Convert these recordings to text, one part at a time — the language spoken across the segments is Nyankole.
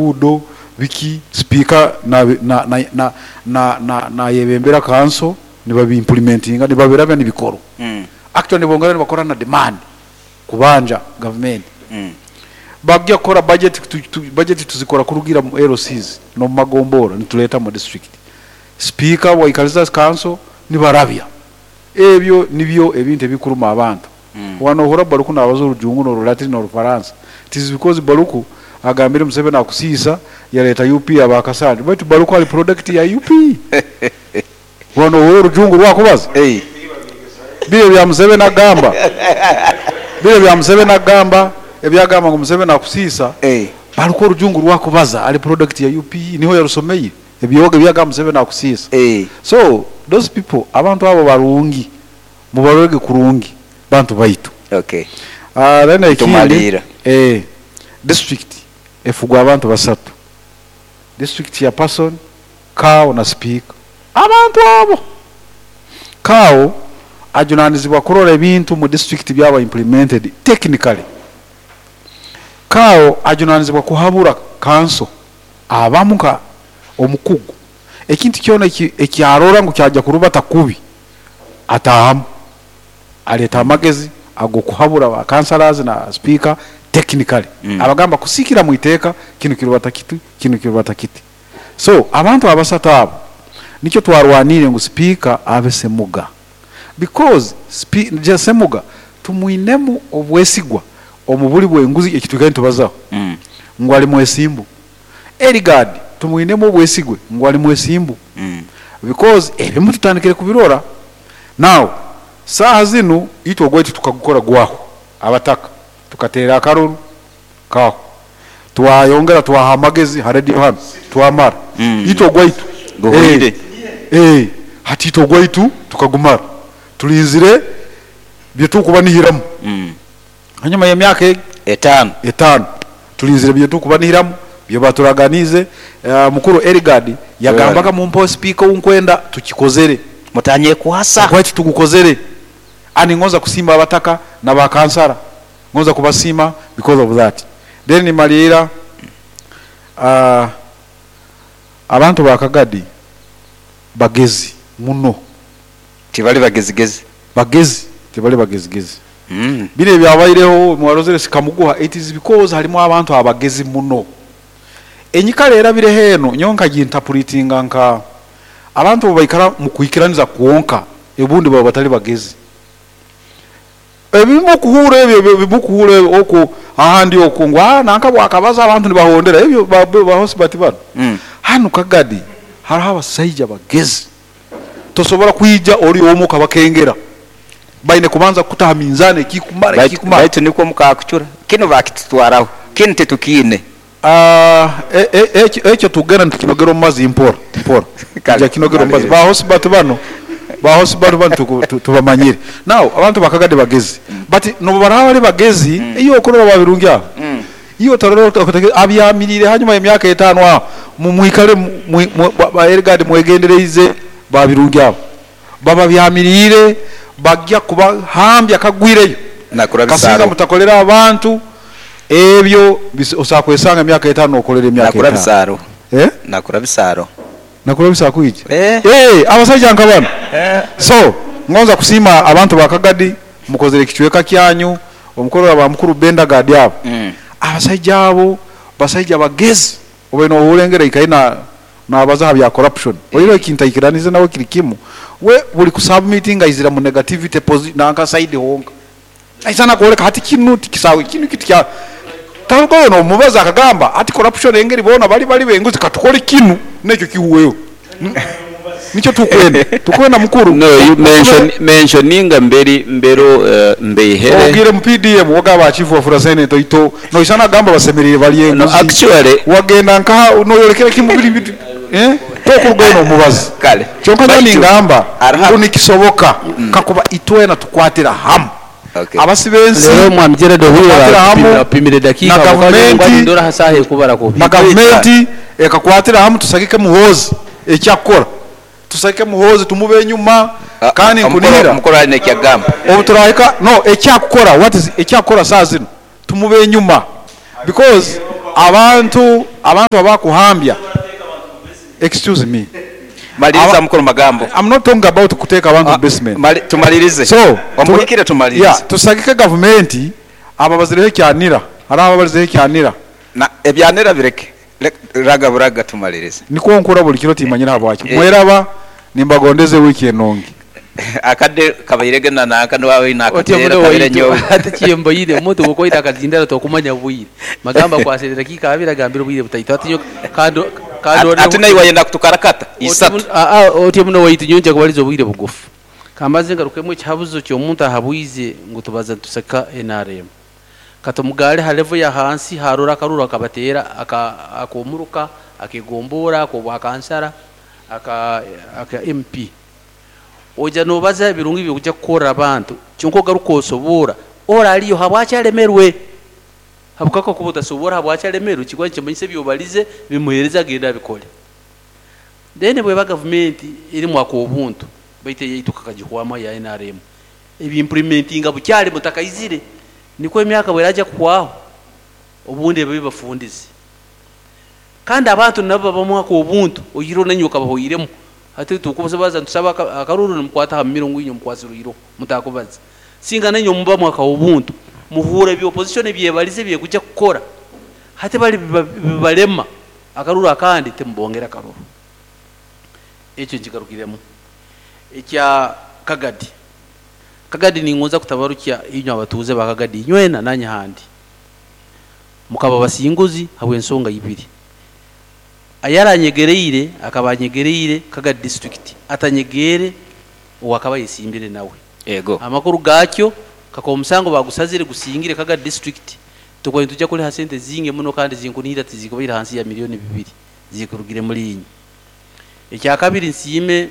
nguudo biki sipiika nayebembera kanso nibabi implementinga nibabirabya nibikorwa. Actually nibongera nibakora na demand kubanja gavumenti. Bagya kukora budget, budget tuzikora kurugira mu LCs n'omu magombora nitureeta mu district. Sipiika bwaikariza kanso nibarabya. Ebyo nibyo ebintu ebikuruma abantu. Waba nohurra Baluku nabaza orujungu n'orulatini n'orufaransa, it is because Baluku agambire Museveni akusiisa yaleeta UP aba Kasaali baitu Baluku ali product ya UP. Waba nohurra orujungu orwakubaza, biri ebya Museveni agamba, biri ebya Museveni agamba, ebyagamba ngu Museveni akusiisa, Baluku orujungu orwakubaza ali product ya UP niho yarusomeire. Ebyoga ebyagamba Museveni akusiisa. So those people abantu abo barungi mubarorege kurungi bantu baitu. Okay. Then ekindi Tumaliira. district efugwa abantu basatu, district chairperson, CAO na sipiika. Abantu abo CAO ajunanizibwa kurora ebintu mu district byaba implemented technically. CAO ajunanizibwa kuhabura kanso abamu nka omukugu ekintu kyona eki arora ngu kyaja kurubata kubi ataahamu aleeta amagezi ag'okuhabura ba councillors na sipiika technically abagamba kusiikira mu iteeka kinu kirubata kiti kinu kirubata kiti. So abantu abasatu abo nikyo twarwaniire ngu sipiika abe Semuga because Semuga tumwinemu obwesigwa omu buli bw'enguzi eki twikaire nitubazaho ngu ali mwesimbu. Eligard tumwinemu obwesigwe ngu ali mwesimbu because ebimu tutandikire kubirora. Now saaha zinu itwe ogwaitu tukagukora gwahwa, abataka tukateera akaruru kaahwa, twayongera twaha amagezi ha radio hanu twamara, itwe ogwaitu Guhweire. hati itwe ogwaitu tukagumara, turinzire byetukubanihiramu hanyuma y'emyaka egi Etaano. etaano turinzire byetukubanihiramu byebaturaganiize. Mukuru Eligard yagambaga mumpe sipiika ou nkwenda tukikozere. Mutanyekwasa. Ogwaitu tugukozere. And ngonza kusiima abataka na ba kansara, ngonza kubasiima because of that. Then nimaliira abantu ba Kagadi bagezi muno. Tibali bagezigezi. Bagezi, tibali bagezigezi. Binu ebyabaireho mwarozere sikamuguha, it is because harimu abantu abagezi muno. Enyikara erabireho eno nyowe nkagintapulitinga nka abantu obu baikara mu kwikiraniza kwonka obundi baba batali bagezi. Ebimu okuhuura ebyo ebimu okuhuura okwo ahandi okwo ngu nanka bwakabaza abantu nibahondera ebyo ba Hosbert banu. Hanu Kagadi hariho abasaija bagezi. Tosobora kwija ori omu okabakengera. Baine kubanza kukuta aha minzaani ekikumara ekikumara. Baitu nikwo mukakucura kinu bakitutwaraho kinu titukiine. Ekyo tugenda nitukinogera omu mazi mpora mpora. Twija kinogera omu mazi. Ba Hosbert banu, ba Hosbert banu tubamanyire. Now abantu ba Kagadi bagezi but nobu baraba bari bagezi iwe okurora ba Birungi abo iwe otarora abyamiriire hanyuma y'emyaka etaano aho mwikare ba Eligard mwegendereize ba Birungi abo bababyamiriire bagya kubahambya kagwireyo. Nakura Kasinga bisaro. mutakolera abantu ebyo osobola kwesanga emyaka etaano nokolera emyaka Nakura etaano. bisaro. Nakura bisaro. Nakura bisaro kwija? Abasaija nka bano. So ngonza kusiima abantu ba Kagadi mukozere ekicweka kyanyu omukorora ba mukuru Benda Gadi abo. Abasaija abo basaija bagezi. Obaire nohurra engeri aikaire nabaza aha bya corruption. Oihireho ekintu aikiranize nawe kiri kimu, we buri kusubmitinga aizira mu negativity nanka side honka. Aizana kworeka hati kinu tikisawe, kinu kitikya. Tarugayo nomubaza akagamba hati corruption engeri boona bari bari benguzi katukore kinu nekyo kihuweho. Nikyo tukwenda. Tukwenda mukuru. No, you mentioninga mberi mbero mbeihere. Ogire mu PDM wagaba chief wa Furasene toito. No isana gamba basemerire bali enguzi. No, actually wagenda nka noyorekera kimubiri bitu. Tokurugayo nomubaza. Kale. Kyonka Baitu, ningamba Arha. ngu nikisoboka kakuba itwena tukwatira hamu. Abasi b'ensi Rero mwami Gerald Ohuye tukwatira hamu bapimire dakika na bakaje gavumenti ngwani ndora hasahe kubara ko. Na gavumenti ekakwatira hamu tusagike Muhoozi ekyakukora. Tusagike Muhoozi tumube enyuma kandi nkunihira. Omukoro ali nekyagamba. Obu turahika no ekyakukora what is ekyakukora saa zino tumube enyuma because Abantu abantu abakuhambya excuse me. Maliriza mukuru Magambo. I'm not talking about kuteeka abantu mu basement. Tumalirize. So, Omuhikire tumalirize. Yeah, tusagike gavumenti abo abazireho ekyanira, hariho ababarizeho ekyanira. Na ebyanira bireke. Raga buraga tumalirize. Nikwo nkura buli kiro timanyire habwaki. Mweraba nimbagondeza ewiiki enungi. Akadde kabairege na nanka niwaaba oine Otyo akateera muno kabire waitu nyowe. hati kyembaire omuntu bwokuba oine akazindaro tokumanya bwire. Magamba akwasire dakiika abiri agambire obwire butaito hati nyowe kandi kandi Ati naiwe wayenda kutukarakata isatu. Otyo muno waitu nyowe nja kubaliza obwire bugufu. Kambaze ngarukemu ekihabuzo ky'omuntu ahabwize ngu tubaza nituseka nrm. Katumugaare ha level ya hansi harora akaruru akabateera ak'omuruka, ak'egomboora, ak'obwakansara, aka MP. Oija nobaza ebirungi ebi orikuja kukorra abantu kyonka ogaruka osoboora ori ariyo habwaki aremerwe. Habwokuba kakuba otasoboora habwaki aremerwe nikikuba nikimanyisa ebi obarize bimuheereze agende abikore. Then bweba gavumenti erimu ak'obuntu baitu eyaitu kakagihwamu eya nrm ebi implementinga bukyari mutakaizire nikwo emyaka bweraija kuhwaho obundi ebe ebafundize. Kandi abantu nabo babamu ak'obuntu oihireho nainywe okabahoiremu hati tukubaza nitusaba akaruru nimukwata aha mumiro ngu inywe mukwasirwe iroho mutakubaza. Singa nainywe mubamu ak'obuntu muhuura ebi opposition ebyebarize ebyekuja kukora hati bari bibarema akaruru akandi timubongera akaruru. Ekyo nkigarukiremu. Ekya Kagadi. Kagadi ningonza kutabarukya inywe abatuuze ba Kagadi inywena nanye handi. Mukaba basinguzi habw'ensonga ibiri. Ayaranyegereire akaba anyegereire Kagadi district atanyegeere owakaba ayesimbire nawe. Ego. Amakuru gakyo kakuba omusango bagusazire gusingire Kagadi district tukuba nituja kuriha sente zingi muno kandi zinkunihira tizikubaire hansi ya milioni bibiri zikurugire muri inywe. Ekyakabiri nsiime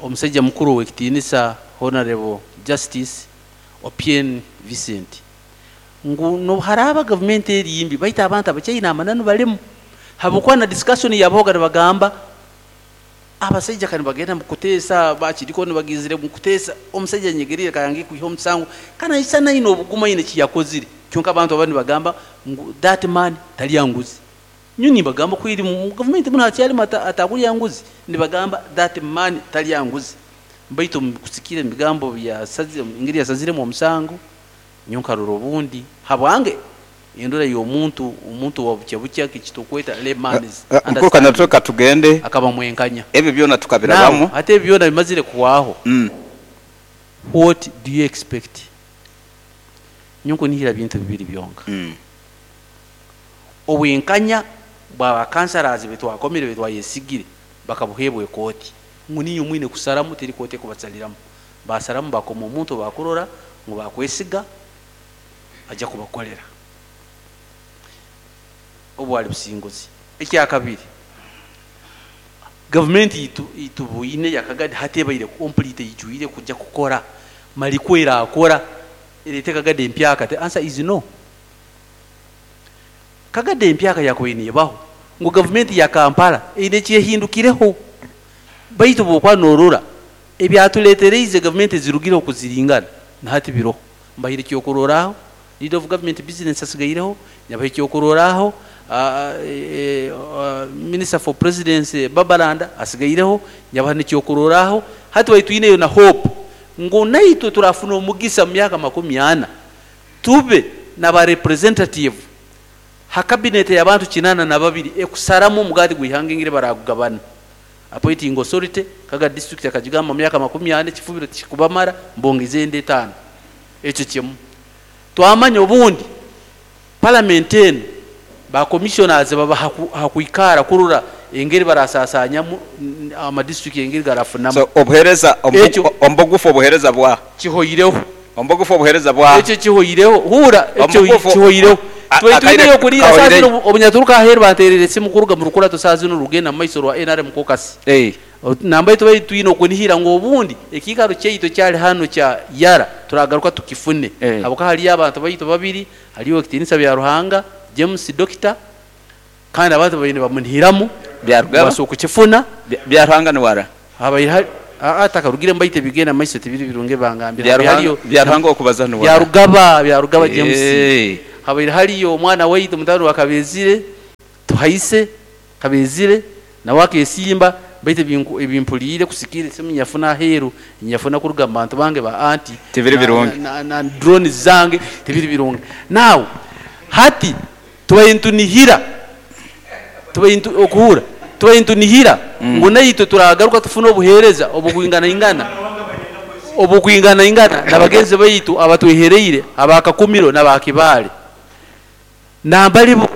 omusaija mukuru ow'ekitiinisa Honorable Justice Opien Vincent ngu nobu haraaba gavumenti eri mbi baitu abantu abakyaine amananu barimu habwokuba na discussion yabahoga nibagamba abasaija ka nibagenda mukuteesa bakiriko nibagizire mukuteesa omusaija anyegereire kayange kwiha omusango kandi naisana aine obugumu aine ekiyakozire kyonka abantu abandi nibagamba ngu that man tarya nguzi. Nyowe nimbagamba ku eri mu gavumenti munu hakyarimu atakurya nguzi nibagamba that man tarya nguzi baitu omu kusikira ebigambo engeri yasaziremu omusango nyowe nkarora obundi habwange endora y'omuntu omuntu owa bukya bukya ekitukweta layman's Mukuru Kanyarutwe katugende akaba mwenkanya. Ebyo byona tukabirabamu. Now hati ebyo byona bimazire kuhwaho. What do you expect? Nyowe nkunihira bintu bibiri byonka. Obwenkanya bwa ba councillors betwakomire betwayesigire bakabuheebwa ekooti ngu niinywe mwine kusaramu teri kooti ekubasaliramu. Basaramu bakoma omuntu obakurora ngu bakwesiga aja kubakorera. Obu bwari businguzi. Ekyakabiri, gavumenti itubwine ya Kagadi hati ebaire complete eijwire kuja kukora mariko erakora erete Kagadi empyaka. The answer is no. Kagadi empyaka yakubaire nebaho ngu gavumenti ya Kampala eine ekyehindukireho baitu bwokuba norora ebyatuletereize gavumenti ezirugireho kuziringana na hati biroho. Mbahaire ekyokuroraho leader of government business asigaireho, nyabaha ekyokuroraho Minister for Presidency Babalanda asigaireho, nyabaha nekyokuroraho hati baitu twineyo na hope ngu naitwe turafuna omugisa mu myaka 40 tube na ba representative ha cabinet y'abantu 82 ekusaramu omugati gw'ihanga engeri baragugabana. Appointing authority Kaga district akagigamba mu myaka 40 ekifubiro tikikubamara mbongeze ende etaano. Ekyo kimu. Twamanya obundi parliament enu ba commissioners baba hakwikara kurora engeri barasasanyamu ama district engeri garafunamu. So obuhereza Ekyo ombugufu obuhereza bwa kihoireho. Ombugufu obuhereza bwa Ekyo kihoireho. Hura ekyo Ombugufu kihoireho. Twaitu akaire tuineyo kuriira kahoireyo. saa zino obunyaturuka aheeru banterera esimu kuruga mu rukurato saa zino rugenda mu maiso rwa NRM caucus. Nambaye tubaire twine okunihira ngu obundi ekiikaro kyaitu ekyari hanu kya Yara turagaruka tukifune. Habwokuba hariyo abantu baitu babiri, hariyo Ekitiinisa bya Ruhanga James Doctor kandi abantu babaire nibamunihiramu Byarugaba? babaasa okukifuna. Bya Ruhanga ni wara? Habaire hari takarugire mbaite bigenda maiso tibiri birungi bangambira. Bya Hariyo Ruhanga okubaza ni wara? Byarugaba, Byarugaba James. Habaire hariyo omwana waitu mutabani wa Kabezire, Tuhaise Kabezire, nawe akesimba, baitu ebi mpuriire kusikiira esimu nyafuna aheeru, nyafuna kuruga mu bantu bange ba anti Tibiri birungi. na drones zange, tibiri birungi. Now hati tubaire nitunihira, tubaire nitu, okuhurra, tubaire nitunihira ngu naitwe turagaruka tufune obuheereza obukwinganaingana, obukwinganaingana na bagenzi baitu abatwehereire aba Kakumiro n'aba Kibaale. Nambari bo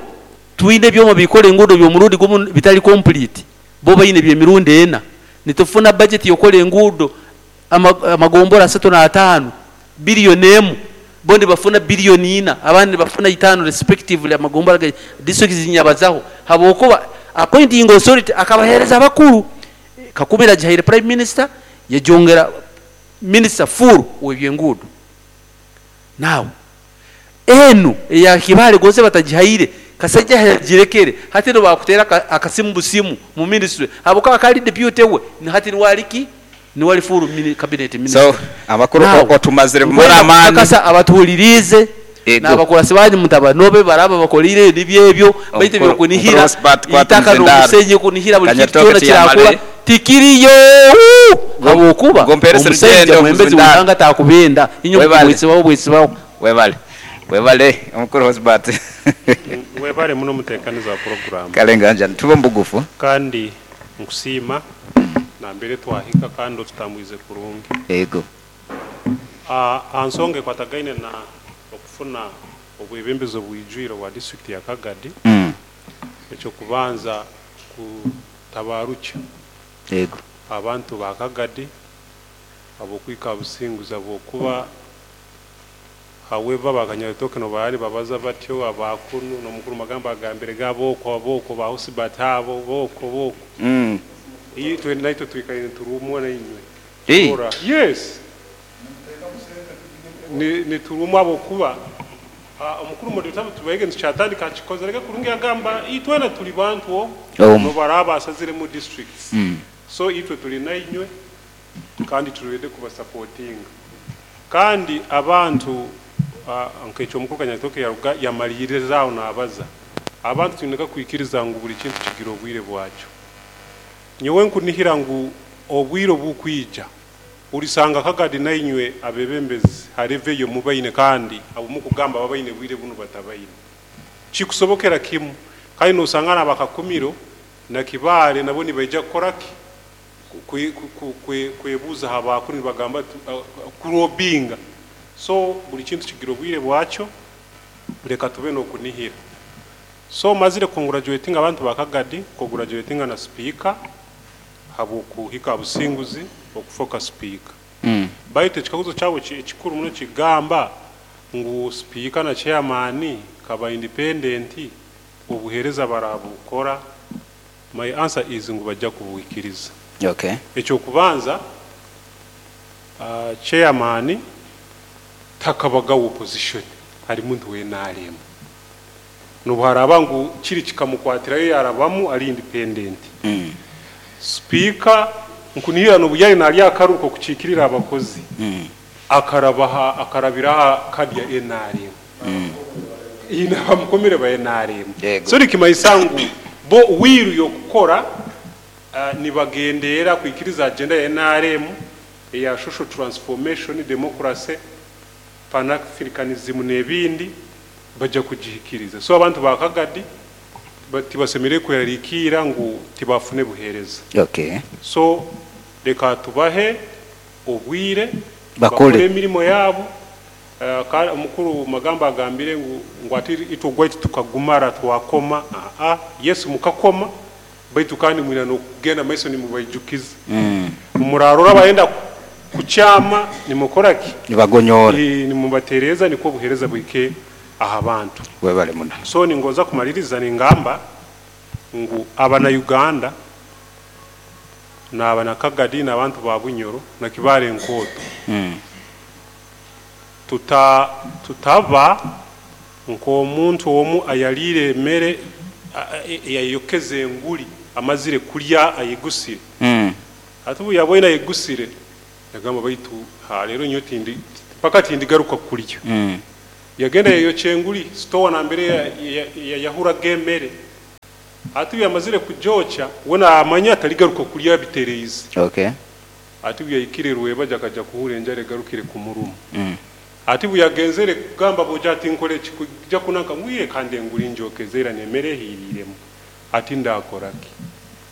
twine ebyoma bikora enguudo by'omurundi gumu bitari complete, bo baine eby'emirundi ena. Nitufuna budget y'okukora enguudo amagombora 35, billion emu, bo nibafuna billion ina, abandi nibafuna itaano respectively amagombora ga districts zinyabazaho, habwokuba appointing authority akabaheereza abakuru. Kakumiro agihaire Prime Minister, yagyongera Minister full w'ebyenguudo. Now enu eya Kibaale gonze batagihaire, Kasaija yagirekere, hati nibakuteera akasimu busimu mu ministry habwokuba akaba ari deputy we, hati niwe ari ki? Niwe ari full cabinet minister. So amakuru Now, otumazire kumara nkwenda amaani. kukakasa abatuhuririize Ego. n'abakurasi banyu mutabanobe baraba bakoreire nibyo ebyo, baitu ebyokunihira Omukuru Osbert kwata eitaka omuzindaaro. n'omusenyi kunihira buri kintu Kanyatoke kyona tiyamare. kirakura tikiriyo habwokuba Gomperese omushaija rugendo mwembezi omuzindaaro. w'eihanga takubenda inywe Webale. bwesibaho bwesibaho. Webale. Webale omukuru Osbert. Webale muno mutekaniza wa program. Kale nganja tube mbugufu. Kandi nkusiima nambere twahika kandi otutambwize kurungi. Ego. Aha nsonga ekwatagaine na okufuna obwebembezi obwijwire obwa district ya Kagadi. Ekyokubanza kutabarukya. Ego. Abantu ba Kagadi abokwika businguzi abokuba however bakanyabitoke no bari babaza batyo abakunu no mukuru magamba agambire gaboko aboko ba Husbert abo boko boko. Iyi twe naitwe twikaire turumwe na inywe. Ora. Yes. Ni ni turumwe abokuba omukuru muri tabu tubege ncyatandika kikoze reka kurungi agamba itwena tuli bantu no baraba asazire mu districts. So itwe tuli na inywe kandi turede kuba supporting. Kandi abantu nkecho omukuru Kanyatoke yaruga yamaliriza nabaza. Abantu tuneka kwikiriza ngu buli kintu kigira obwire bwakyo. Nyowe nkunihira ngu obwire obukwija ulisanga Kagadi na inywe abebembezi hareveyo mubaine kandi abumukugamba babaine bwire bunu batabaine. Kikusobokera kimu kandi nosanga nabakakumiro na Kibaale nabo nibaija kukoraki kwebuza habakuru nibagamba kurobinga. So buli kintu kigira obwire bwakyo reka tube nokunihira. So mazire congratulating abantu ba Kagadi, congratulating na speaker habukuhika businguzi okufoka speaker. Baitu ekikaguzo kyabo ekikuru muno kigamba ngu speaker na chairman kaba independent obuhereza barabukora. My answer is ngu bajja kubuhikiriza. Ekyo kubanza, chairman takabaga opposition ari muntu we NRM. Nubuharaba ngu kiri kikamukwatirayo yarabamu ari independent. Speaker nkunihira nobuyari nali akaruko kuchikirira abakozi. Akarabaha akarabiraha kadi ya NRM. Ina bamukomere ba NRM. Yego. So likimayisangu bo wiru yokukora nibagendera kwikiriza agenda ya NRM ya social transformation, democracy, pan-africanism n'ebindi bajja kugihikiriza. So abantu ba Kagadi tibasemere kwerarikira ngu tibafune buhereza. So reka tubahe obwire Bakore. bakore emirimo yabo. Omukuru magamba agambire ngu ati itugwa tukagumara twakoma. Yesu mukakoma baitu kandi mwina no kugenda maiso nimubaijukiza. Murarora bayenda kuchama nimukora ki? Nibagonyora. Nimubatereza niko buhereza bwike aha bantu. Webale muno. So ningoza kumaliriza ningamba ngu abana Uganda na abana Kagadi na abantu ba Bunyoro na Kibaale Nkoto. Tutaba nko omuntu omu ayalire emere yayokeze enguli amazire kulya ayigusire. Ati ubu yabonye ayigusire yagamba baitu ha rero nyo tindi paka tindi garuka kulya. Yagenda yayokya enguli, store nambere yayahuraga emere. Ati obu yamazire kugyokya, we naamanya tarigaruka kurya abitereize. Okay. Ati obu yahikire rwebagyo akaja kuhurra enjara egarukire kumuruma. Ati obu yagenzere kugamba aboojo ati nkore ki kuija kunanka ngu yee kandi enguli ngyokeze ira n'emere ehiiriiremu. Ati ndaakora ki?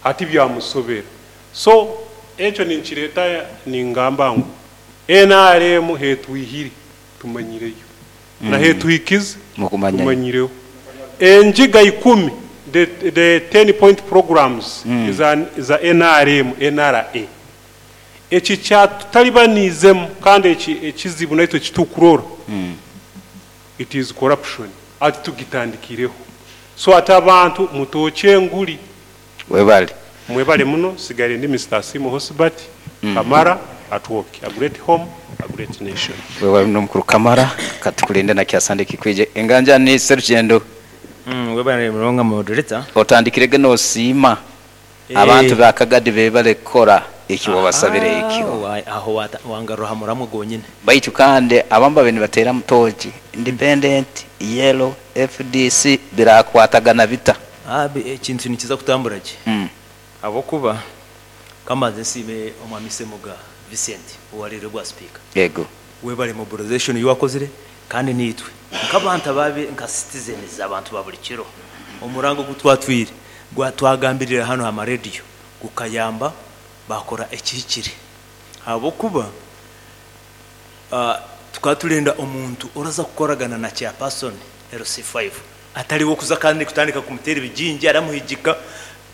Ati byamusobera. So ekyo ninkireeta ningamba ngu nrm hetwihire tumanyireyo na hetuhikize tumanyireho. Engiga ikumi, the the ten point programs eza eza nrm, NRA. Eki kyatutalibaniizemu kandi eki ekizibu naitwe eki tukurora it is corruption ati tugitandikireho. So ati abantu mutookye enguli. Webale. Mwebale muno, nsigaire ndi Mister Asiimwe Hosbert Kamara Atwoki, a great home, a great nation. Webale muno mukuru Kamara, katukulinde na kya Sunday kikwije. Enganjani Sserugendo. Webale munonga moderator. Otandikire ge nosiima abantu ba Kagadi bebale kukora eki wabasabire ekyo. Aho wangarura aha muramwa gwonyine. Baitu kandi abamu babaire nibateeramu tooki, Independent, Yellow, FDC birakwatagana bita? Ekintu nikiza kutambura gye ahabw'okuba ka mbanze nsiime Omwami Ssemuga Vincent owareire obwa sipiika. Yego. Webare mobilization ei wakozire kandi naitwe nk'abantu ababe nka citizens abantu ba buri kiro omuranga ogu twatwire twagambirire hanu aha marediyo gukayamba bakora ekihikire ahabw'okuba Tukaba turenda omuntu oraza kukoragana na chairperson LC5 atari we okuza kandi kutandika kumuteera ebigingi aramuhigika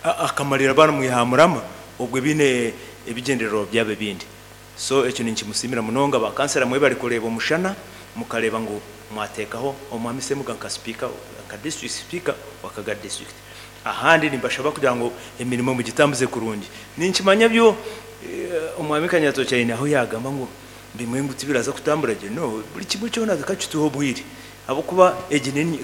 akamarira baramwiha aha murama obwe baine ebigyendererwa byabo ebindi. So ekyo ninkimusiimira munonga. Ba kansela mwebare kureeba omushana mukareeba ngu mwateekaho Omwami Ssemuga nka sipiika nka district speaker wa Kagadi district. Ahandi nimbashaba kugira ngu emirimo mugitambuze kurungi. Ninkimanya byo Omwami Kanyatoki aine ahu yaagamba ngu Bimwe ngu tibiraza kutambura gye, no, buri kimwe kyona kakituhe obwire ahabw'okuba egi ni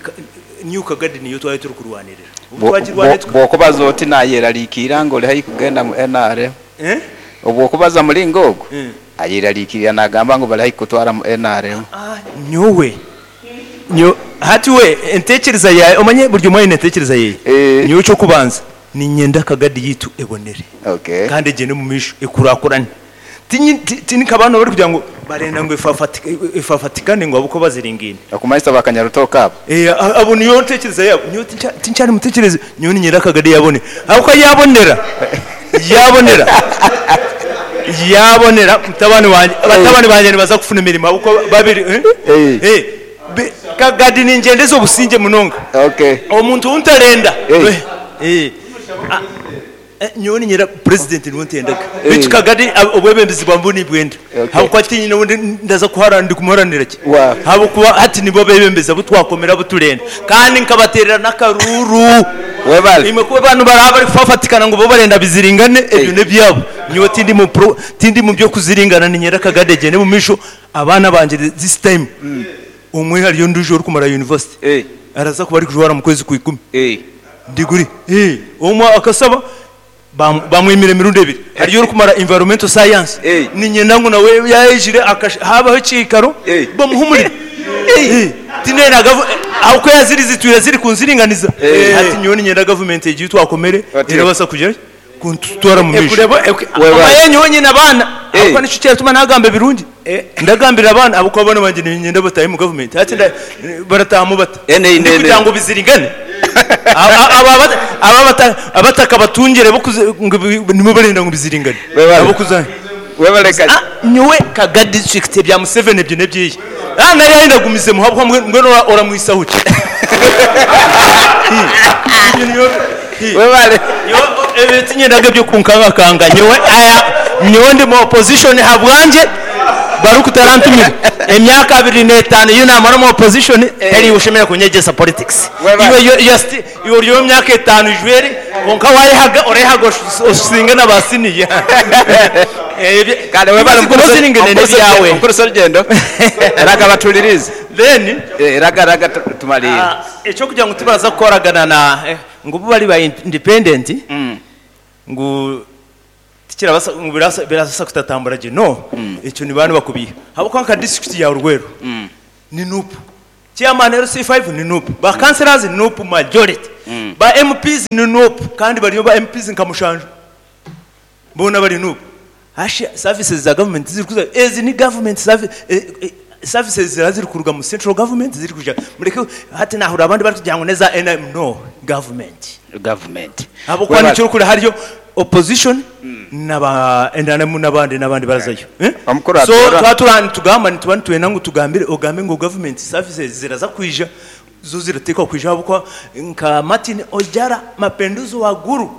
New Kagadi niyo twaba turikurwanirira. Obu twagirwanira tuka. Bw'okubaza oti nayerariikirira ngu ori haihi kugenda mu nrm. Eh? Obw'okubaza muringo ogu, ayerariikirira nagamba ngu bari haihi kukutwara mu nrm. Ah, nyowe, nyo, hati we entekereza yaawe, omanye buri omwe aine entekereza yeye. Nyowe eky'okubanza niinyenda Kagadi yaitu ebonere Okay. kandi egyende omu maisho ekurakurane. Ti nka banu abarikugira ngu barenda ngu efafatikane ngu ahabw'okuba baziringaine. Okumanyisa ba kanyarutooke abo. Abo niyo ntekyereza yaabo. Nyowe tinkyari mutekyerezi, nyowe niinyenda akagari yabonera. Ahabw'okuba yabonera, yabonera, yabonera mutabani wangye, batabani bangye nibaza kufuna emirimo ahabw'okuba babiri, Kagadi ningyendeza obusingye munonga. Omuntu ou ntarenda. Nyowe niinyenda purezidenti niwe ntendaga beitu Kagame obwebembezi bwamwe nibwenda ahabw'okuba tinyine ou ndaza kuhara ndikumuharanira ki ahabw'okuba hati nibo abebembezi abu twakomire abu turenda kandi nkabateerera n'akaruuru. Imwe ku abantu baraba barikufafatikana ngu bo barenda biziringane ebyo n'ebyabo nyowe tindi mu pro tindi mu by'okuziringana niinyenda Kagame agyende omu maisho abaana bangye this time omwe hariyo ondiijo orikumara university araza kuba arikujwara omu kwezi kwa ikumi. Diguri. Omwe akasaba bamwimira emirundi ebiri. Hariyo orikumara environmental science niinyenda ngu nawe yaayijire haabaho ekiikaro bamuhe omurimo. Tindeenda ahabw'okuba ziri zitwire ziri kunziringaniza. Hati nyowe niinyenda gavumenti egi ei twakomere erabaasa kugira ki? Kuntutwara omu maisho. Omanye nyowe nyine abaana ahabw'okuba nikyo kiratuma naagamba ebirungi. Ndagambira abaana ahabw'okuba abaana bangye niinyenda bataahe omu gavumenti. Hati barataahamu bata? Ndikugira ngu biziringane? Aba abatakabatungire nibo barenda ngu biziringane. Ahabw'okuza nyowe Kaga district ebya Museveni ebyo n'ebyeye. Nari yayenda agumizemu ahabw'okuba mbwenu oramwihisaho ki? Nyowe tinyendaga eby'okunkangakanga nyowe nyowe ndi mu opposition ahabwangye Baruku tarantumire. Emyaka abiri n'etaano ei naamara omu opposition tari iwe oshemereire kunyegyesa politics. Iwe ori ow'emyaka etaano ijwire kwonka waayehaga oreehaga osinge na ba siniya. Kare webale Guma osiringane n'ebyawe. Mukuru Serugendo raga batulirize. Then Raga raga tumariire. Eky'okugira ngu tibaraza kukoragana na ngu bo bari ba independent ngu tikirabaasa ngu birabaasa kutatambura gye no ekyo nibaba nibakubiiha ahabw'okuba nka disiturikiti ya Rweru ni Nup. Chairman LC5 ni nup, ba councillors nup majority, ba MPs ni nup kandi bariyo ba MPs nka mushanju boona bari nup. Hashi services za government tizirikuza, ezi ni government services ziraba ziri kuruga mu central government ziri kwija mureke hati nahurira abandi barikugira ngu neza NRM no government. Government. Ahabw'okuba Webale. nikyo orikureeba hariyo opposition na ba NRM n'abandi n'abandi barazayo. Eh? Omukuru So Abiola. twaba turi aha nitugamba nituba nitwenda ngu tugambire ogambe ngu government services ziraza kwija zo zirateekwa kwija ahabw'okuba nka Martin Ojara Mapenduzi wa Gulu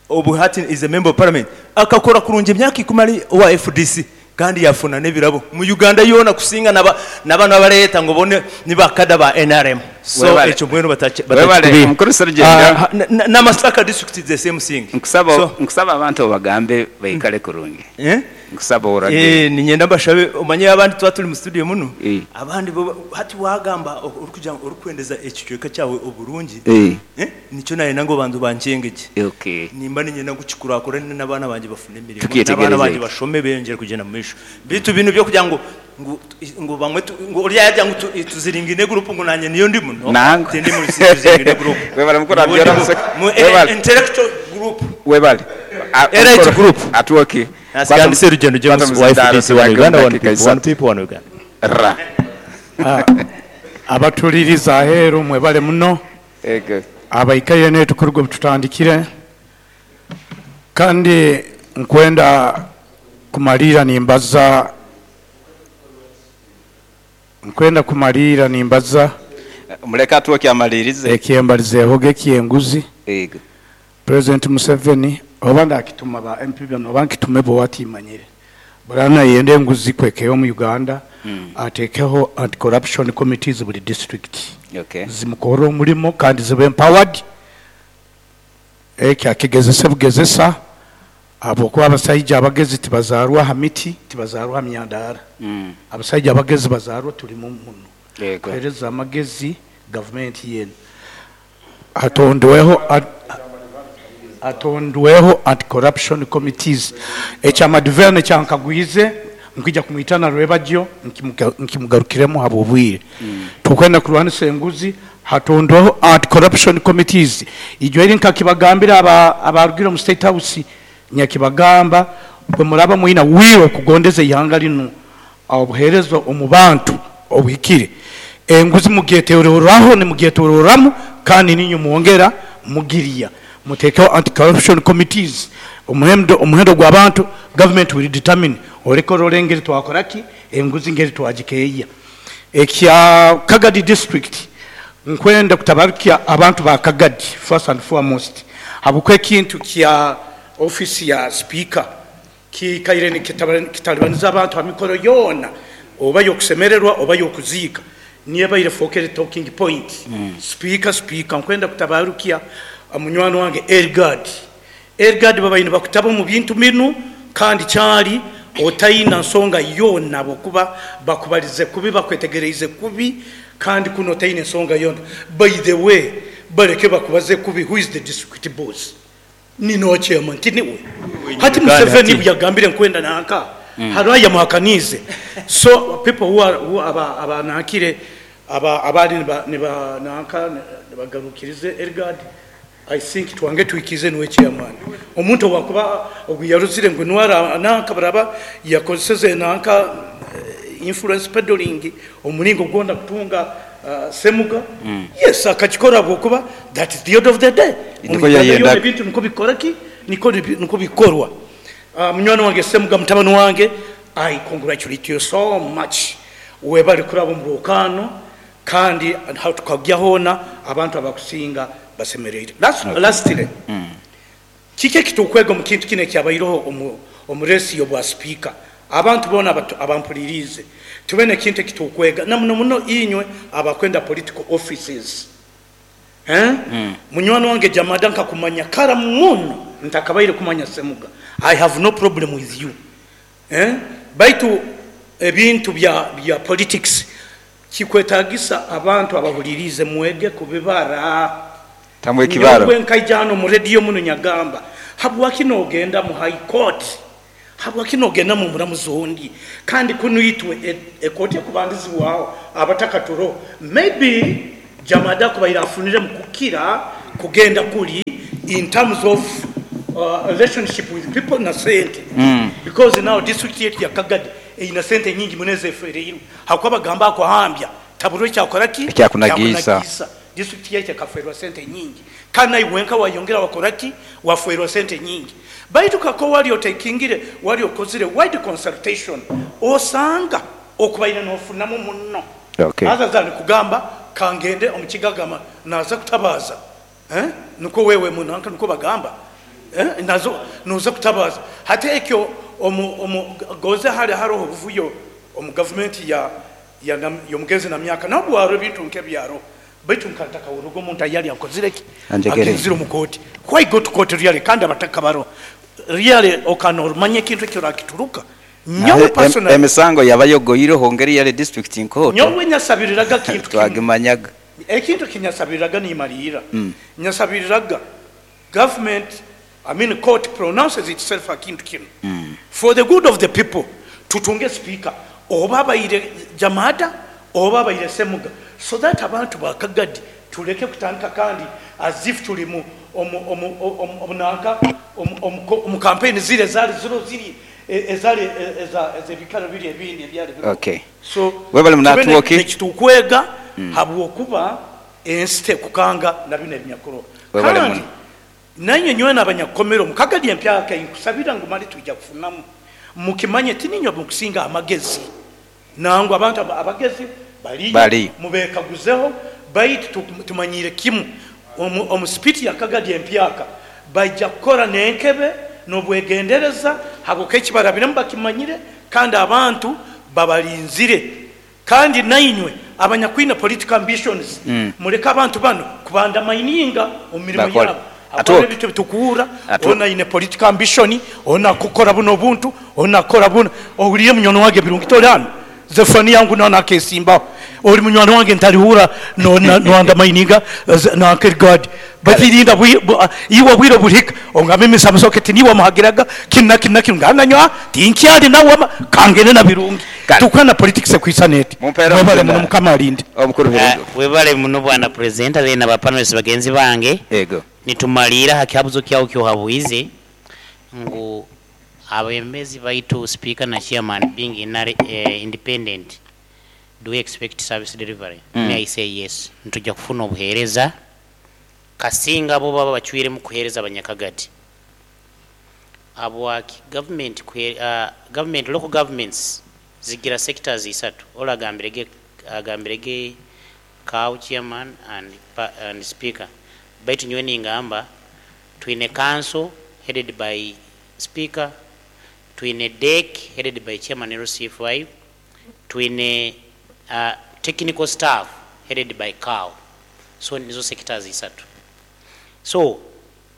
obu hati is a member of parliament akakora kurungi emyaka ikumi ari owa FDC kandi yafuna n'ebirabo mu Uganda yoona kusinga naba nabanu abareyeta ngu bo ni ba kada ba nrm so Webale. ekyo mbwenu Webale batakikubiiha. omukuru Serugendo. Na Masaka district is the same thing. Nkusaba So nkusaba abantu obagambe baikale kurungi. Eh? Nkusaba oragire. Eh, niinyenda mbashabe omanye abandi twaba turi mu studio munu Eh. abandi bo hati waagamba orikugira ngu orikwendeza ekicweka kyawe oburungi Eh. eh, nikyo naayenda ngu obanze obankyenge gye. Okay. Nimba niinyenda ngu kikurakurane n'abaana bangye bafune emirimo, Tukyetegereze n'abaana bangye ekyo. bashome beeyongyere kugyenda omu maisho. Beitu binu eby'okugira ngu ngu ngu bamwe tu ngu oriya yaagira ngu tu tuziringine gurupu ngu naanye niyo ndimu, no, Nangwa. tindi muri tuzingine gurupu. Webale mukuru Nyowe Abiola ndi Museka. mu Webale. intellectual group. Webale. Elite group. Atwoki. Nasiga Serugendo James wa FDC one Uganda one people one people one Uganda. Ra. Abatuliriza aheeru mwebale muno. Ego. Abaikaire netu kuruga obu tutandikire kandi nkwenda kumaliira nimbaza nkwenda kumaliira nimbaza Muleke atwoki amalirize. Ekyembalizeehoga eky'enguzi. Ego. President Museveni oba ndakituma ba MP bano oba nkitume bo watimanyire. Burana yenda enguzi kwekeyo omu Uganda atekeho anti corruption committees buri district. Okay. Zimukore omurimo kandi zibe empowered. Ekyo akigezese bugezesa ahabwokuba abasaija abagezi tibazaarwa aha miti, tibazaarwa aha myandaara. Abasaija abagezi bazaarwa turimu muno. Yego. Kuheereza amagezi gavumenti yeena. Hatondweho hatondweho anti corruption committees. Ekya Maduverne kyankagwize nkwija kumwitana rwebagyo nkimugarukiremu habw'obwire. Tukwenda kurwanisa enguzi hatondweho anti corruption committees. Ijo eri nkakibagambira abarugire omu state house nyakibagamba bwe muraba mwina will okugondeza eihanga rinu obuheereza omu bantu obuhikire. Enguzi mugyetorooraho nimugyetororamu kandi niinywe mwongera mugirya. Muteekeho anti corruption committees omuhendo omuhendo gw'abantu government will determine oreke orore engeri twakora ki enguzi engeri twagikeeya. Ekya Kagadi district nkwenda kutabarukya abantu ba Kagadi first and foremost habwokuba ekintu kya office ya speaker Kiikaire nikitalibaniza abantu ha mikoro yoona, oba y'okusemererwa oba y'okuziika, niyo ebaire efookere talking point. Sipiika, sipiika, nkwenda kutabarukya munywani wange Elgard. Elgard babaire nibakutaba omu bintu binu kandi kyali otaina nsonga yoona habwokuba bakubalize kubi, bakwetegereize kubi kandi kunu otaine nsonga yoona. By the way, baleke bakubaze kubi, who is the district boss? Ni noha chairman tiniwe? Hati Museveni buyagambire nkwenda nanka hariho ayamuhakaniize so people who are who aba abanankire aba abali niba niba nanka nibagarukirize Elgard I think twange twikize niwe chairman omuntu owakuba ogu yaruzire ngu niwe ara nanka baraba yakozeseze nanka influence peddling omuringo gwona kutunga Semuga yes akakikora ahabw'okuba that is the order of the day. Omu Nikwo Uganda yoona yayendaga. ebintu nikwo bikora ki? Nikwo nikwo bikorwa. Munywani wange Semuga mutabani wange I congratulate you so much webale kuraba omu rwokaano kandi ahu tukagya hoona abantu abakusinga basemereire. Lastly, kiki ekitukwega omu kintu kinu ekyabaireho omu omu reesi y'obwa sipiika? Abantu boona abampuririize, tube n'ekintu eki turikwega, na muno muno inywe abakwenda political offices. Eh? Munywani wange Jamada nkakumanya kara muno ntakabaire kumanya Semuga. I have no problem with you. Eh? Baitu ebintu bya bya politics kikwetagisa abantu abahuririize mwege kubibara. Tamu ekibaro. Nyowe nkaija hanu omu radio muno nyagamba, habwaki nogenda mu high court? Habwaki nogenda mu muramuzi ondi kandi kunu itwe ekooti ekubandizibwaho abataka turoho. Maybe Jamada akubaire afuniremu kukira kugenda kuri in terms of relationship with people na sente because now district yaitu ya Kagadi eine sente nyingi muno ezefereirwe ahakuba bagamba akuhambya taburwa ekyakora ki? Ekyakunagiisa. District yaitu ekaferwa sente nyingi kandi naiwe wenka wayongera wakora ki? Waferwa sente nyingi. Baitu kakuba wali otekingire, wali okozire wide consultation osanga okubaire nofunamu muno. Okay. Other than kugamba kangende omu kigagama naza kutabaza eh nikwo wewe munanka nikwo bagamba eh naza noza kutabaza. Hati ekyo omu omu goze hali haroho obuvuyo omu gavumenti ya ya yomugenzi Namyaka nabwo haroho ebintu nkebyo haroho. Baitu nka ntakahuriraga omuntu ayali akozire ki? Anjegere. Agenzire omu kooti. Why go to court really kandi abataka baroho? Really okaba nomanya ekintu eki orakituruka? Nyowe personally. Emisango yaba yogoireho ngeri yari district nkooto. Nyowe nyasabiriraga kintu kimu. Twagimanyaga. Ekintu eki nyasabiriraga nimariira. Nyasabiriraga government, I mean court pronounces itself ha kintu kinu. For the good of the people, tutunge speaker oba abaire Jamada oba abaire Semuga so that abantu ba Kagadi tuleke kutandika kandi as if turi mu omu omu omu nanka omu omu omu campaign ziri ezari ziro ziri ezari eza ezebikaro biri ebindi ebyari biriho. Okay. So Webale tube munatwoki. nekitukwega habwokuba ensi tekukanga na binu ebinyakuroho. Webale Kandi muno. nainywe nywena abanyakukomere omu Kagadi empyaka inkusabira ngu mali twija kufunamu. Mukimanye tininywe mukusinga amagezi. Nangwa abantu abagezi baliyo, Baliyo. mubekaguzeho, baitu tumanyiire kimu omu sipiti ya Kagadi empyaka baija kukora n'enkebe n'obwegendereza habwokuba eki barabiremu bakimanyire kandi abantu babarinzire. Kandi nainywe abanyakwine political ambitions muleke abantu banu kubandamaininga omu mirimo Bakole. yabo. Habwokuba Atuoke. ebintu ebitukuhurra, Atuoke. onu aine political ambition, onu akukora bunu obuntu, onu akukora bunu. Ohuriire munywani wange Birungi tori hanu? Zephania ngu nawe nakesimbaho. Ori munywani wange ntarihurra noandamaininga nanka Edgard. Baitu rinda iwe obwire oburihika ongambe Mister Musoke tiniiwe wamuhagiraga kinu na kinu na kinu ngu nanyowe tinkyari nawe wama kangende na Birungi. Kale. Tukwana na politics ekwisana eti. Mumpeere Mwebale omutenda. muno Mukama alinde. Omukuru Birungi. Webale muno bwana presenter then aba panelists bagenzi bange. Ego. Nitumaliira ha kihabuzo kyawe kyohabwize ngu abebembezi baitu speaker na chairman being independent, do we expect service delivery? May I say yes. Nituja kufuna obuhereza kasinga abo baba bacwiremu kuhereza abanyakagadi. Habwaki government government local governments zigira sectors isatu. Ola agambirege cow chairman and speaker. Baitu nyowe ningamba twine council headed by speaker, twine DEC headed by chairman LC5, twine technical staff headed by cow. So nizo sectors isatu. So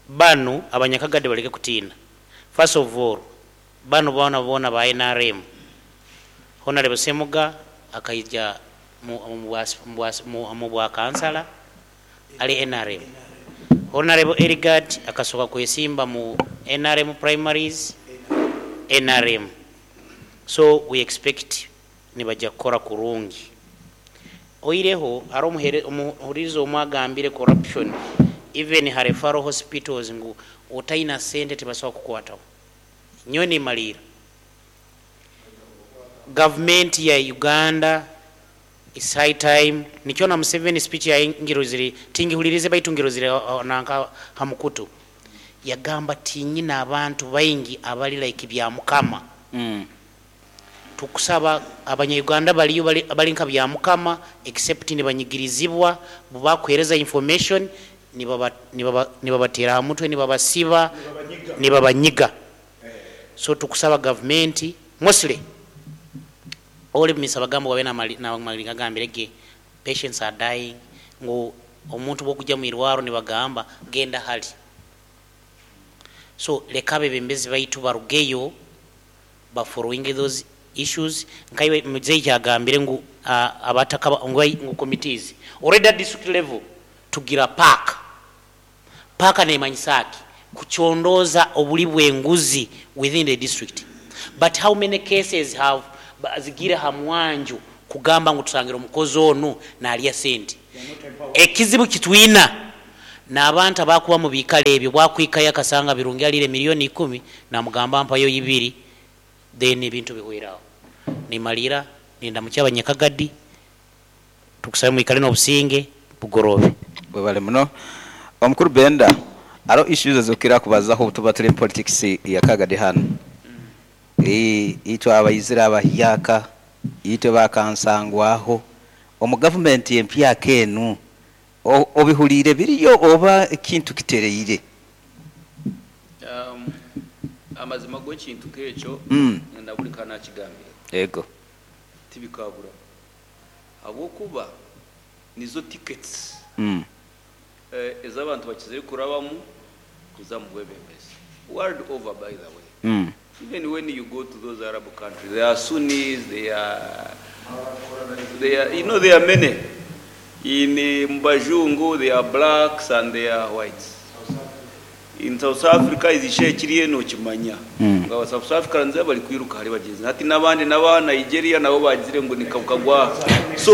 banu abanyakagadi baleke kutina. First of all, banu bona bona ba NRM. Honorable Semuga akaija mu bwa kansala ali NRM. Honorable Erigard akasoka kwesimba mu NRM primaries NRM. So we expect nibaja kukora kurungi. Oireho ari omuhurizo omwagambire corruption even referral hospitals ngu otaina sente tebasobola kukwataho. Nyowe nimalira. Government ya Uganda is high time. Nikyona Museveni speech ya ngirozire tingihulirize baitu ngirozire nanka hamukutu. Yagamba tinyina abantu baingi abali like bya Mukama. Tukusaba abanya-Uganda baliyo bali nka bya Mukama except nibanyigirizibwa bubakwereza information nibabatera ha mutwe nibabasiba nibabanyiga. So tukusaba government mostly oli misa bagambo wabe na mali gambirege patients are dying ngu omuntu bwokujja mu irwaro nibagamba genda hali. So leka abebembezi baitu barugeyo ba following those issues. Nkaiwe mzee kyagambire ngu abataka ngu committees already at district level tugira park. Park nemanyisaki kuchondoza obuli bw'enguzi within the district. But how many cases have zigiire aha mwanju kugamba ngu tushangire omukozi onu narya sente. Ekizibu kitwina n'abantu abakuba omu biikaro ebyo bwakwikayo akasanga Birungi ariire milioni ikumi namugamba mpayo ibiri then ebintu bihwere aho. Nimariira nindamukya abanyakagadi tukusabe mwikare n'obusinge bugoroobe. Webale muno Omukuru Benda. Hariho issues ezokukira kubazaho obutuba turi omu politics ya Kagadi hanu. Itwe abaizire abahyaka, itwe bakansangwaho omu gavumenti empyaka enu, obihuriire biriyo oba ekintu kitereire? Amazima go ekintu nk'ekyo na buri ka nakigambire. Yego. Tibikabura ahabw'okuba nizo tickets ezi abantu bakizire kurabamu kuza omu bwebembezi world over by the way. Even when you go to those Arab countries there are Sunnis, there are, there are, you know there are many. In mu bajungu there are blacks and there are whites. In South Africa ezisha ekiriyo nokimanya ngu aba South Africans bari kwiruka ahari bagyenzi hati n'abandi n'aba Nigeria nabo bagizire ngu ni kagwa so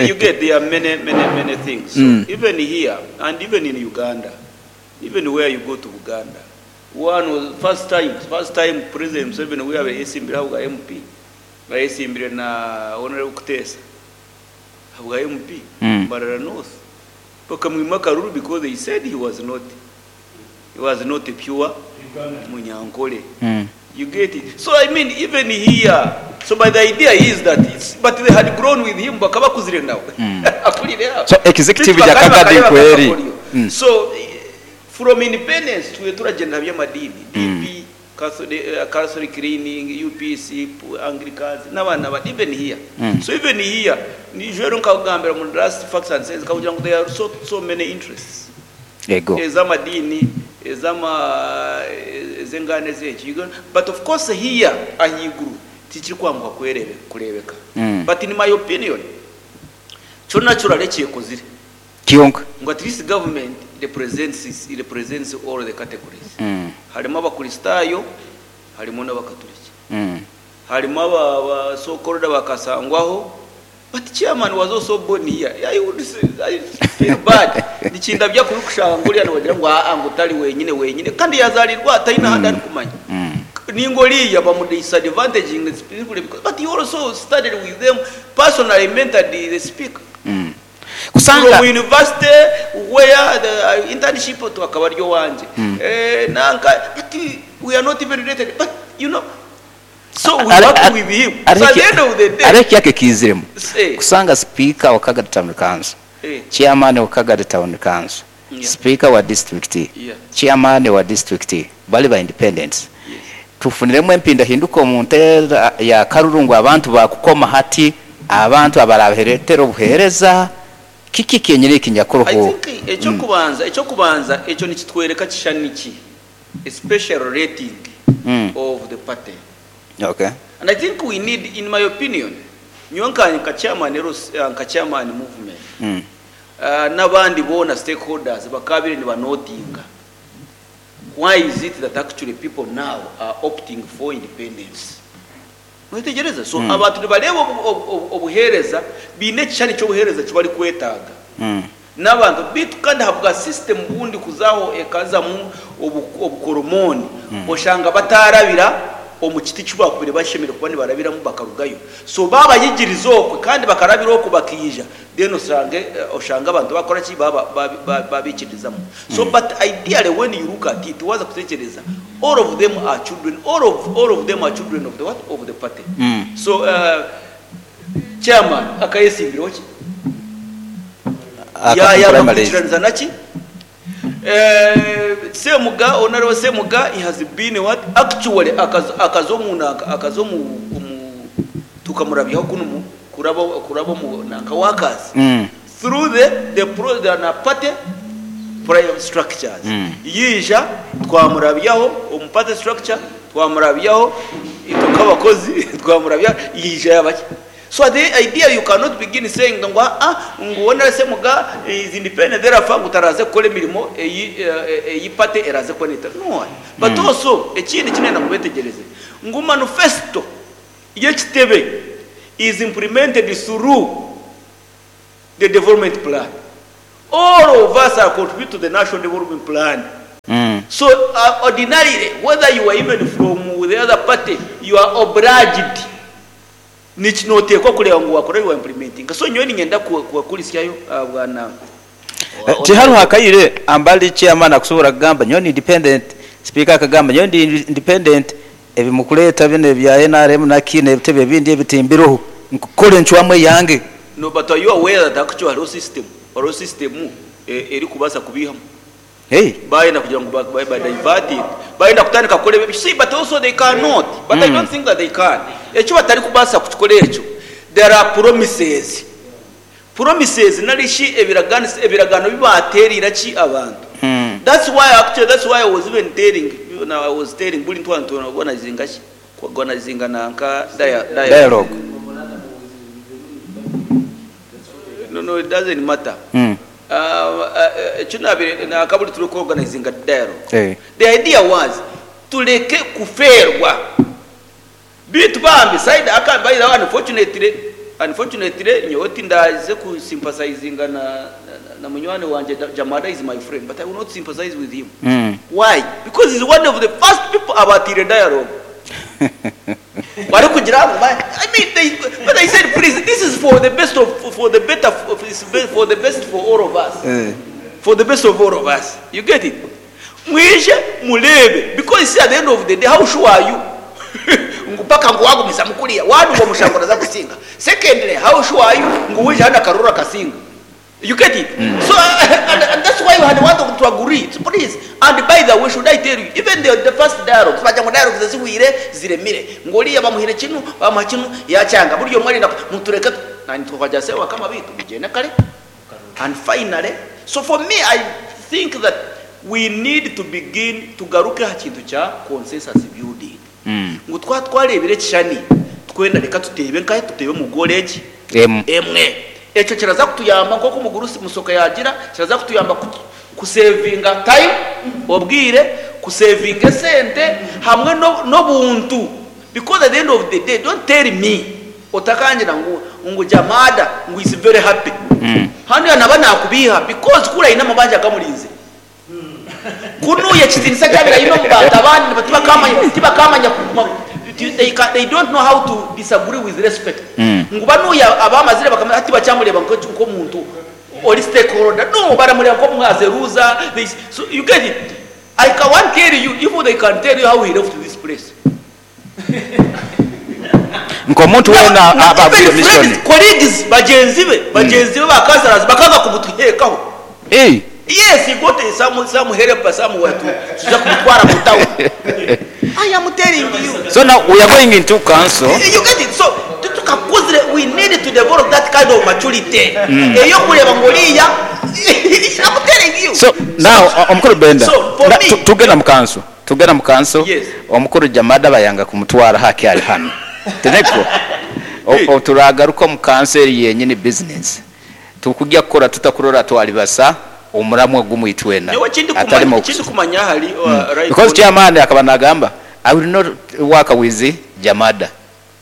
you get there are many many many things so even here and even in Uganda even where you go to Buganda one was first time first time President Museveni obu yabaire ayesimbire ahabwa MP ayesimbire na Honorable Kutesa ahabwa MP Mbarara North bakamwima akaruru because they said he was not he was not a pure Munyankole you get it so I mean even here so but the idea is that it's but they had grown with him bakaba bakuzire nawe akurire aho So executive Beitu ya bakaba Kagadi bakareba nkweri. akakoryo. So from independence twe turagyenda aha by'amadiini DP Catholic, Catholic leaning, UPC, Anglicans n'abandi n'abandi even here so even here nijwero nkakugambira mu last facts and sense nkakugira ngu there are so, so many interests Yego. ez'amadiini ez'ama ez'enganda ez'eki You go- but of course here ahaiguru tikirikwanguha kwerebe kureebeka but in my opinion kyo naturally kyekozire Kyonka. ngu at least government represents, represents all the categories harimu abakristaayo harimu n'abakaturiki harimu aba, aba so called abakasangwaho but chairman was also born here I would say, I feel bad nikindabya kubi kushanga ngu oriya nibagira ngu aa ngu tari wenyine wenyine kandi yazarirwa ataine ahandi arikumanya ninga oriya bamu disadvantaging specifically because but he also studied with them personally mentored the speaker Kusanga from university where the internship to akaba ari owangye nanka but we are not even related but you know so we work with him so at the end of the day Hariho ekiyaka ekiiziremu Eh. kusanga speaker wa Kagadi Town Council Eh. chairman wa Kagadi Town Council Yeah. speaker wa district Yeah. chairman wa district bari ba independents Yes. tufuniremu empindahinduka omu nteera ya karuru ngu abantu bakukoma hati abantu abarabaheretera obuheereza kiki kyenyini I ekinyakuruho think ekyokubanza ekyokubanza ekyo nikitwereka kishushani ki a special rating of the party Okay. and I think we need in my opinion nyowe nka nka chairman nka chairman movement n'abandi boona stakeholders bakabire nibanotinga why is it that actually people now are opting for independence mwetegyereza so abantu nibareeba obuheereza baine ekishushani ky'obuheereza eki barikwetaaga n'abantu beitu kandi ahabwa system bundi kuzaho ekazamu obukoromoni oshanga batarabira omu kiti eki bakubaire bashemereire kuba nibarabiramu bakarugayo so babayigiriza okwe kandi bakarabira okwo bakaija then oshange oshange abantu bakora ki babaikiririzamu so but ideally when you look at it waza kutekyereza all of them are children all of, all of them are children of the what of the party so chairman akayesimbiraho ki yayanga kwikiraniza naki Semuga honorable Semuga he has been what actually akaza omu nanka akaza omu omu tukamurabyaho kunu mu kuraba kuraba omu nanka workers through the pro the na party prime structures yiija twamurabyaho omu party structure twamurabyaho itwe nk'abakozi twamurabyaho yiija yabaki so the idea you cannot begin saying ngu ah ngu wona Semuga is independent therefore ngu taraze kukora emirimo eyi eyi party eraze kuba neta no but also ekindi kinenda kubetegereze Ngu manifesto y'ekitebe is implemented through the development plan. All of us are contribute to the national development plan. So ordinarily whether you are even from the other party you are obliged noteekwa kureeba ngu wakora ebi wa implementinga. So nyowe niinyenda kubakurisyayo bwana. Tihariho akaire ambali chairman akusobora kugamba nyowe ndi independent, speaker akagamba nyowe ndi independent, ebi mukureeta binu ebya nrm naki n'ebitebe ebindi ebi timbiroho, nkukora encwamu eyange. No but are you aware that actually hariho system, hariho system erikubaasa kubiihamu? Hey. Bayenda kugira ngu ba ba diverting, bayenda kutandika kukora ebi, see but also they cannot, but I don't think that they can. Eki batarikubaasa kukikora ekyo, there are promises, promises nari shi ebiraganiso, ebiragaano bi baateereire ki abantu. That's why actually, that's why I was even telling, I was telling buri ntwara ntu organizinga ki, ku organizinga nanka dialogue. Dialogue. No, no, it doesn't matter. Eki naabaire nanka buri turi ku organizinga dialogue. The idea was tureke kufeerwa. Beitu bambi side aka by the way unfortunately, unfortunately nyowe tindaaze ku sympathizinga na na munywani wangye Jamada is my friend but I will not sympathize with him. Why? Because he's one of the first people abaatiire dialogue. Barikugira ngu I mean they but I said please this is for the best of for the better for the best for all of us. For the best of all of us. You get it? Mwije mureebe because you see at the end of the day how sure are you ngu paka ngu wagumizamu kuriya one ngu omushango naza kusinga secondly how sure are you ngu waija hanu akaruru akasinga you get it so and, and that's why we had want to agree so please and by the way should I tell you even the, the first dialogue bagira ngu dialogues zihwire ziremire ngu oriya bamuhire kinu bamuha kinu yakyanga buri omwe arenda mutureke nanye tukagira sebakama bitu mugyende kare And finally, so for me I think that we need to begin tugaruke aha kintu kya consensus building ngu twaba twareebire ekishushani twena reka tuteebe nkahe tuteebe omu goal egi emwe. Ekyo kiraza kutuyamba nk'oku Mugurusi Musoke yaagira, kiraza kutuyamba kusevinga time, obwire, kusevinga esente hamwe n'obuntu because at the end of the day don't tell me Otakangira ngu ngu Jamada ngu is very happy. Hanuya naba nakubiiha because kuri aine amabanja agamurinzire. Kunuya ekitinisa ekyabaire aine omu bantu abandi tibakamanya tibakamanya kuguma they can they don't know how to disagree with respect. Ngu banuya abamazire bakamanya hati tibakyamureeba nk'omuntu ori stakeholder no baramureeba nk'omu as a loser they so you get it? I can one tell you if they can tell you how he left this place. Nk'omuntu weena aba agwire mission. Colleagues bagyenzi be, bagyenzi be ba councillors bakanga kumutuheekaho. Yes, he got some, some helper somewhere to tuza kumutwara mu town. I am telling you. So now we are going into council. You get it? So tutukakuzire, we need to develop that kind of maturity. Eyokureeba ngu oriya, I'm telling you. So now omukuru Benda, So, for me, tugenda mu council. Tugenda mu kanso, Yes. omukuru Jamada bayanga kumutwara haki ari hanu. Tinekwo? O, o, turagaruka omu kanso eri yenyini business. Tukugya kukora tuta kurora twaribasa omuramwa gumwe itwena. Nyowe ekindi Atari kumanya, mu ekindi kumanya ahari right Because on- chairman akaba nagamba, I will not work with Jamada.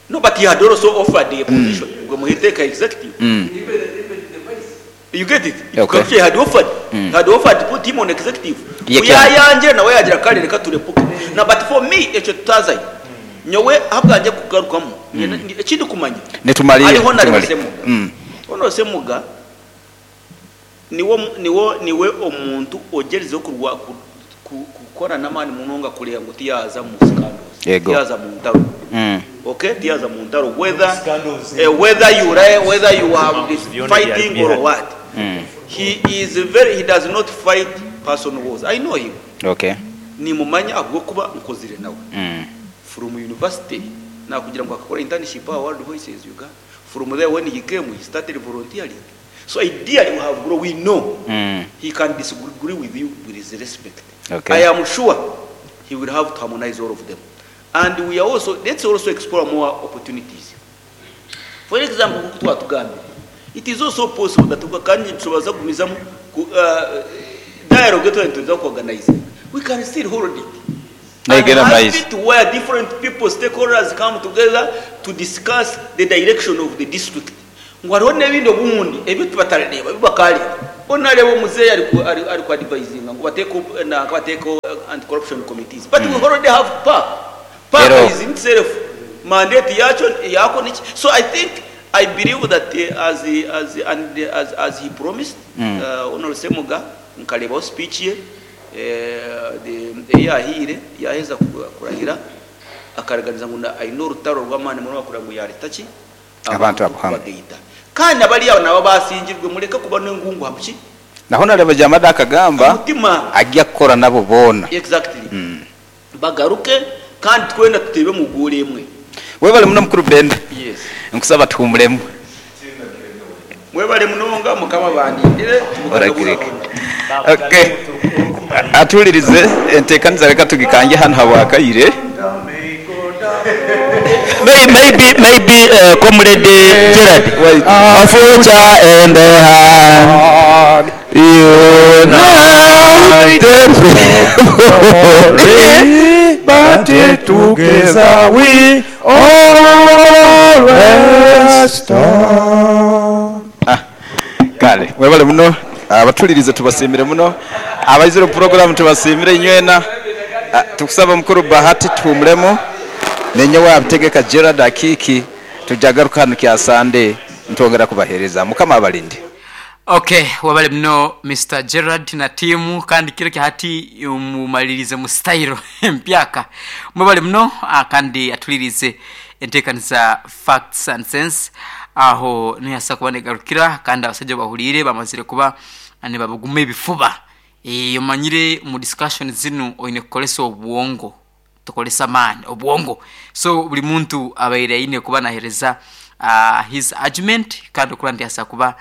No, but he had also offered a position. Gwe muhiteeka executive. You get it? Okay. He had offered. He had offered to put him on executive. Ye Ku can. yayangira nawe yagira kare reka turepuke. Na but for me ekyo tutazayo. Nyowe ahabwangye kugarukamu. Ekindi kumanya. Nitumalire. Hariho na Nitumalire. Semuga. Hono Semuga niwo niwo niwe omuntu ogyerizeho kurwa kukora n'amaani munonga kureeba ngu tiyaza mu scandals. Yego. Tiyaza mu ntaro. Okay, tiyaza mu ntaro whether whether you lie, whether you are this fighting or what. He is very, he does not fight personal wars. I know him. Okay. Nimumanya ahabw'okuba nkozire nawe. From university nakugira ngu akakora internship aha World Voices Uganda. From there when he came he started volunteering. So ideally we have grown, we know he can disagree with you with his respect. Okay. I am sure he will have to harmonize all of them. And we are also, let's also explore more opportunities. For example, nkuko twatugambire, it is also possible that kandi tubaza kugumizamu ku dialogue twari tuza ku organize. We can still hold it. Negenda And mu maizi. has it where different people stakeholders come together to discuss the direction of the district. Ngu hariho n'ebindi obundi ebi tubatarareeba ebi bakaareeba. Mbwenu naareeba omuzeeyi ari ku ari ari ku advisinga ngu bateekeho nanka bateekeho anti corruption committees but we already have PAC. PAC Ero. is in itself mandate yaakyo yaako niki so I think I believe that as as and as as he promised Honourable Ssemuga nkareebaho speech ye Ei yaahaire yaaheza kurahira, akaraganisa ngu aine orutaro rw'amaani munonga kureba ngu yaareeta ki? Abantu Abantu abo hamwe. kubagaita. Kandi na bariya nabo abaasingirwe mureke kuba n'engungu aha ki? Naho nareeba Jamada Aha akagamba mutima. agya kukora nabo boona. Exactly. Bagaruke kandi twena tuteebe omu goolo emwe. Webale muno mukuru Benda. Yes. Nkusaba tuhumuremu. Mwebale munonga mukama abandindire Orakireke. Okay. Atuhuririze enteekaniza reka tugikangye hanu habwakaire. Maybe, maybe uh, Comrade Gerard. Wait. A future in the hand. United But together we always stand. Kale, mwebale muno abatulirize tubasiimire muno abaizire omu puroguramu tubasiimire inywena. Ah, tukusaba mukuru Bahati tuhumuremu nenyowe abitegeka Gerard Akiiki tujagaruka hanu kya Sande ntwongera kubahereza. Mukama abalinde. Ok webale muno Mister Gerald na team kandi kiro kya hati mumalirize mu style empyaka. Mwebale muno kandi atulirize enteekaniza Facts and Sense aho nihasa kuba negarukira kandi abasaija obahuriire bamazire kuba nibabuguma ebifuba. Omanyire omu discussion zinu oine kukoresa obwongo tokoresa amaani, obwongo. So buri muntu abaire aine kuba nahereza his argument kandi okuba nti asobola kuba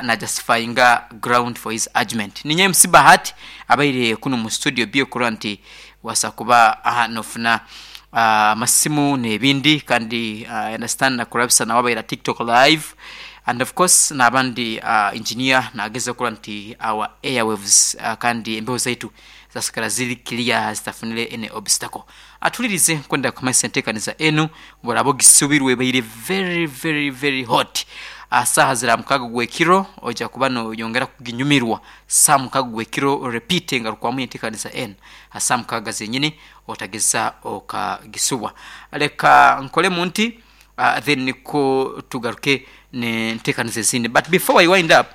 na justifyinga ground for his argument. Ninye MC Bahati abaire kunu mu studio B okurora nti wasobola kuba nofuna amasimu nebindi kandi I understand na Kurabisa nawe abaire aha TikTok live and of course nabandi engineer nagezaho kurora nti our airwaves kandi embeho zaitu zasigara ziri clear zitafunire any obstacle. Atulirize nkwenda kumanyisa entekaniza enu bworaba ogisubirwe ebaire very very very hot. Aha saaha zira mukaga gwekiro oija kuba noyongera kuginyumirwa saaha mukaga gwekiro repeat engarukwamu yentekaniza enu aha saaha mukaga zenyini otageza okagisubwa. Leka nkolemu nti then nikwo tugaruke nentekaniza ezindi but before I wind up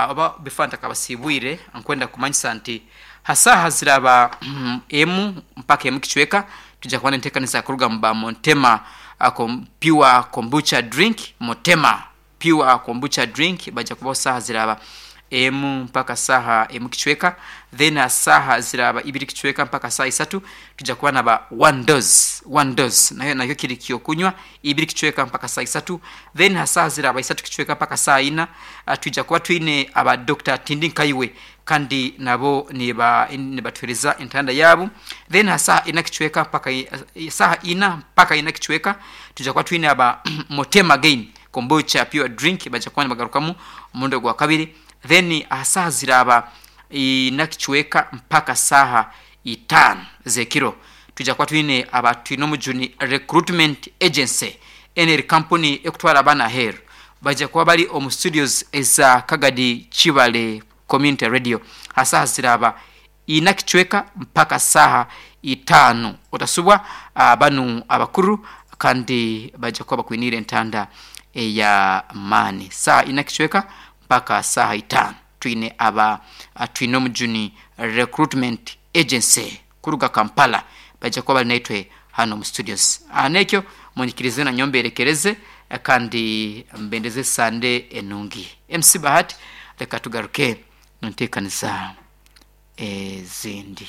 oba before ntakabasibwire nkwenda kumanyisa nti ha saaha ziraba emu mpaka emu kicweka twija kuba nentekaniza kuruga mu ba Montema Pure Kombucha Drink Motema Pure Kombucha Drink baija kubaho saaha ziraba emu mpaka saaha emu kicweka then aha saaha ziraba ibiri kicweka mpaka saaha isatu twija kuba naba One Dose One Dose nayo nakyo kiri kyokunywa ibiri kicweka mpaka saaha isatu then aha saaha ziraba isatu kicweka mpaka saaha ina twija kuba twine aba Dokita Tindi Nkaiwe kandi nabo niba nibatuhereza entanda yaabo then aha saaha ina kicweka mpaka saaha ina mpaka ina kicweka twija kuba twine aba Motema Again Kombucha Pure Drink baija kuba nibagarukamu omurundi ogwa kabiri then aha saaha ziraaba ina kicweka mpaka saaha itaano z'ekiro twija kuba twine aba Twinomujuni Recruitment Agency enu eri kampuni ekutwara abaana aheeru baija kuba bari omu studios eza Kagadi Kibale Community Radio aha saaha ziraaba ina kicweka mpaka saaha itaano. Otasubwa banu abakuru kandi baija kuba bakwiniire entanda ey'amaani. Saaha ina kicweka mpaka saaha itaano twine aba Twinomujuni Recruitment Agency kuruga Kampala baija kuba bari naitwe hanu omu studios. N'ekyo munyikirize nanyowe mberekereze kandi mbendeze Sande enungi. MC Bahati leka tugaruke nteekaniza ezindi.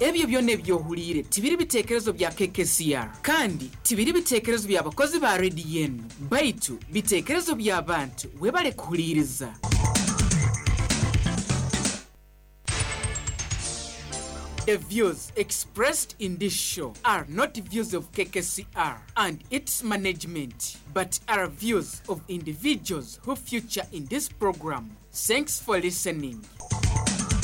Ebyo byona ebi ohuliire tibiri bitekerezo bya KKCR kandi tibiri bitekerezo bya bakozi ba rediyo enu, baitu bitekerezo by'abantu. Webale kuhuliiriza. The views expressed in this show are not views of KKCR and its management but are views of individuals who feature in this program. Thanks for listening.